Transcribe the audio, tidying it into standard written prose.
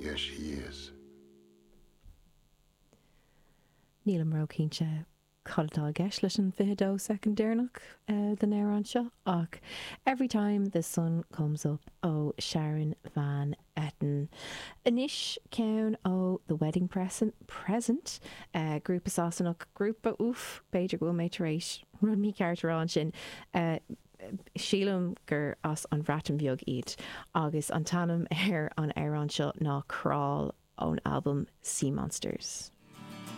Yes, she is. Nílim ró-chinnte cad atá i gceist leis an 22 soicind deireanach den amhrán seo ach Every Time the Sun Comes Up ó Sharon Van Etten. Anois ceann ó The Wedding Present, grúpa Sasanach, grúpa, uff, b'fhéidir go bhfuil mé tar éis rud mícheart a rá ansin, sílim gur as an Bhreatain Bheag iad agus an t-ainm ar an amhrán seo ná Crawl ón albam Sea Monsters.